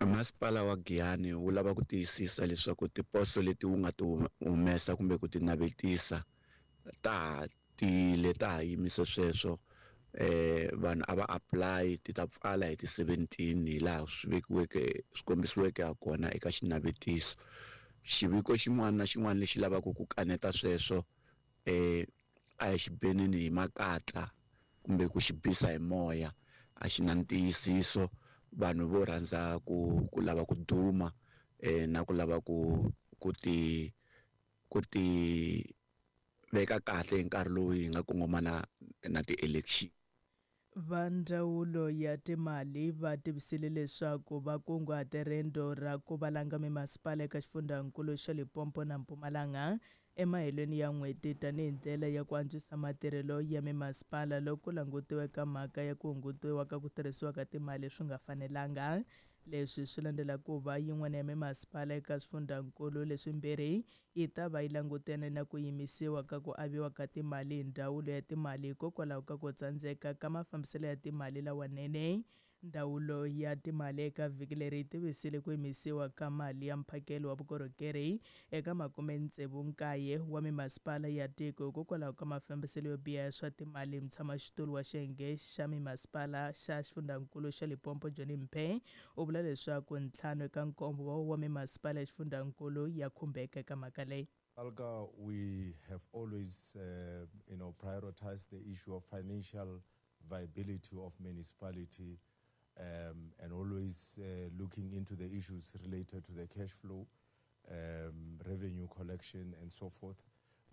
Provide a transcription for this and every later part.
Masipala wa Giyani wu lava ku tiyisisa leswaku tiposo leti wu nga ti humesa kumbe ku ti navetisa ta ha tiyile, ta ha yimise sweswo. Vanhu a va apply, ti ta pfala hi ti 17 hi laha swi vekiweke swi kombisiweke ha kona eka xinavetiso. Xiviko xin'wana na xin'wana lexi lavaka ku kaneta sweswo a hi xi beneni hi makatla kumbe ku xi bisa hi moya, a xi na ntiyisiso. Vanhu vo rhandza ku lava ku duma na ku lava ku ti veka kahle hi nkarhi lowu hi nga kongomana na ti-election. Va ndzawulo ya timali va tivisile leswaku va kunguhate rendzo ra ku valanga mimasipala eka xifundzankulu xa Limpopo na Mpumalanga emahelweni ya n'hweti tanihi ndlela ya ku antswisa matirhelo ya mimasipala loko ku langutiwa eka mhaka ya ku hungutiwa ka ku tirhisiwa ka timali swi nga fanelanga. Leswi swi landzela ku va yin'wana ya mimasipala eka swifundzankulu leswimbirhi yi ta va yi langutene na ku yimisiwa ka ku aviwa ka timali hi ndzawulo ya timali hikokwalaho ka ku tsandzeka ka mafambiselo ya timali lawanene. Ndzawulo ya timali eka vhiki leri yi tivisile ku yimisiwa ka mali ya mphakelo wa vukorhokeri eka 69 wa mimasipala ya tiko hikokwalaho ka mafambiselo yo biha ya swa timali. Mutshamaxitulu wa xiyenge xa mimasipala xa xifundzankulu xa Limpopo Johnny Mphe u vula leswaku 5 eka 7 wa mimasipala ya xifundzankulu ya khumbeka eka mhaka leyi. SALGA, we have always prioritized the issue of financial viability of municipality, and always looking into the issues related to the cash flow, revenue collection, and so forth.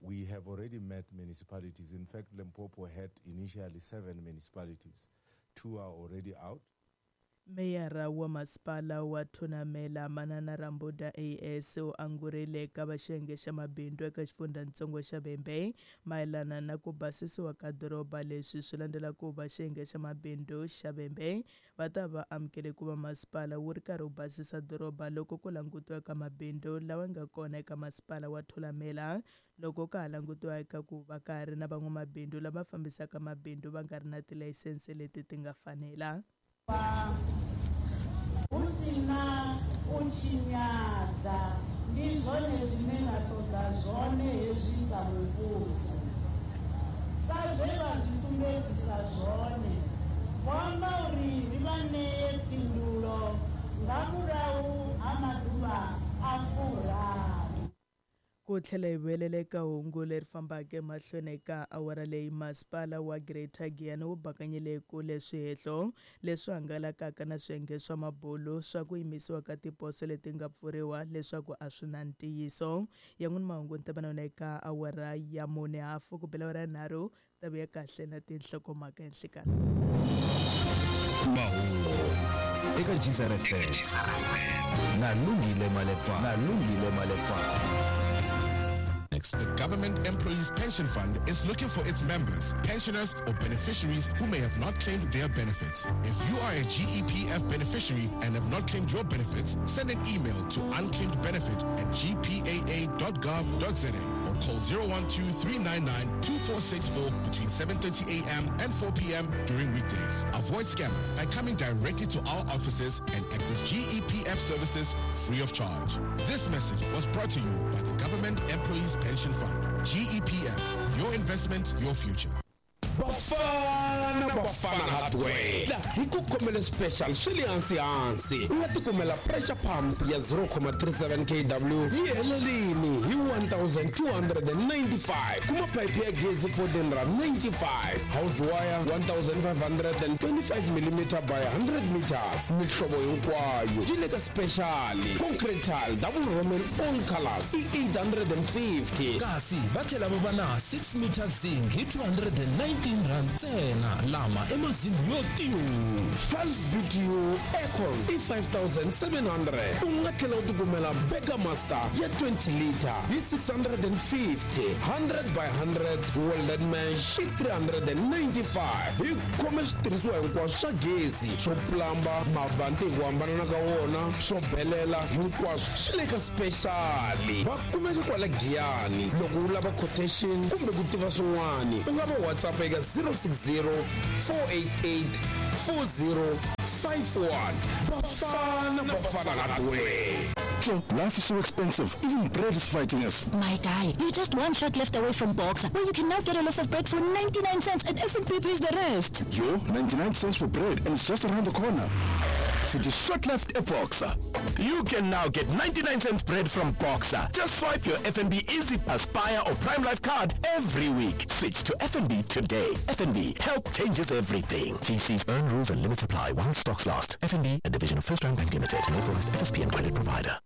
We have already met municipalities. In fact, Limpopo had initially 7 municipalities. 2 are already out. Meyara wa masipala wa Thunamela Manana Rambuda AS u angurile eka va xiyenge xa mabindzu eka xifundzatsongo xa Vhembe mayelana na ku basisiwa ka doroba. Leswi swi landzela ku va xiyenge xa mabindzu xa Vhembe va ta va amukele ku va masipala wu ri karhi wu basisa doroba loko ku langutiwa eka mabindzu lawa nga kona eka masipala wa Thulamela, loko ka ha langutiwa eka ku va ka ha ri na van'wamabindzu lava fambisaka mabindzu va nga ri na tilayisense leti ti nga fanela. Hu si na u tshinyadza, ndi zwone zwine ra ṱoḓa zwone hezwi sa muvhuso. Sa zwe vha zwi sumbedzisa zwone, vho amba uri ri vha ṋee phindulo nga murahu ha maḓuvha a 30. Ku tlhela hi vuyelela eka hungu leri fambaka emahlweni eka awara leyi, masipala wa Greater Giyani wu bakanyile kule swihehlo leswi hangalakaka na swiyenge swa mabulu swa ku yimisiwa ka tiposo leti nga pfuriwa leswaku a swi na ntiyiso. Yan'wini mahungu ni ta va na yona eka awara ya 4:30 ku bela awara ya 3 ta vuya kahle na tinhlokomhaka enhlikani. Mahungu eka Geyser FM na Lungile Malepa, na Lungile Malepa. The Government Employees Pension Fund is looking for its members, pensioners, or beneficiaries who may have not claimed their benefits. If you are a GEPF beneficiary and have not claimed your benefits, send an email to unclaimedbenefit@gpaa.gov.za or call 012-399-2464 between 7:30 a.m. and 4 p.m. during weekdays. Avoid scammers by coming directly to our offices and access GEPF services free of charge. This message was brought to you by the Government Employees Pension Fund. GEPF, your investment, your future. Bafana Bafana Hardware la hi ku khomele special swi le hansi hansi. U nga tikumela pressure pump ya 0.37 kW yi helelini hi 1295, kuma pipe ya gezi 14 rand 95, house wire 1525 mm by 100 meters, mihlovo hinkwayo yi le ka special. Concrete tile double roman all colors i 850. Kasi va tlhela va va na 6 meter zinc hi 219 rand ntsena, lama i mazingi yo tiyu. 12 BTU aircon i 5700. U nga tlhela u tikumela Burger Master ya 20 liter hi 650, 100 by 100 welded mesh i 395. Hi khome switirhisiwa hinkwaswo swa gezi, swo plamba, mavanti hi ku hambanana ka wona, swo belela, hinkwaswo swi le ka special. Va kumeka kwala Giyani. Loko u lava quotation kumbe ku tiva swin'wani, u nga va WhatsApp eka 060 488 4051. Bafana Bafana Gatwe. Joe, life is so expensive. Even bread is fighting us. My guy, you're just one shot left away from Boxer, where you can now get a loaf of bread for 99 cents and FNB pays the rest. Yo, 99 cents for bread and it's just around the corner. So just shot left a Boxer. You can now get 99 cents bread from Boxer. Just swipe your FNB Easy Aspire or Prime Life card every week. Switch to FNB today. FNB, help changes everything. TC's earn rules and limits apply while stocks last. FNB, a division of First Round Bank Limited, an authorized FSP and credit provider.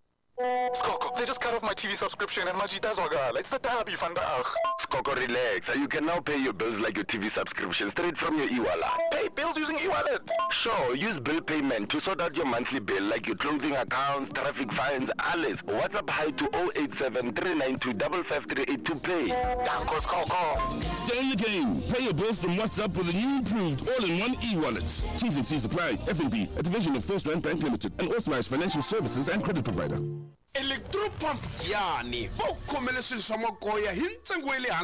Skoko, they just cut off my TV subscription and Majita Zwagala. It's the derby vandaag. Skoko, relax. You can now pay your bills like your TV subscription straight from your e-wallet. Pay bills using e-wallet? Sure, use bill payment to sort out your monthly bill like your clothing accounts, traffic fines, alles. WhatsApp hi to 087 392 5538 to pay. Danko, Skoko. Stay in the game. Pay your bills from WhatsApp with a new improved all-in-one e-wallet. T's and C's apply. FNB, a division of First Rand Bank Limited, an authorized financial services and credit provider. Electropump Giyani va ku khomele swilo swa magoya hi ntsengo wa le hansi.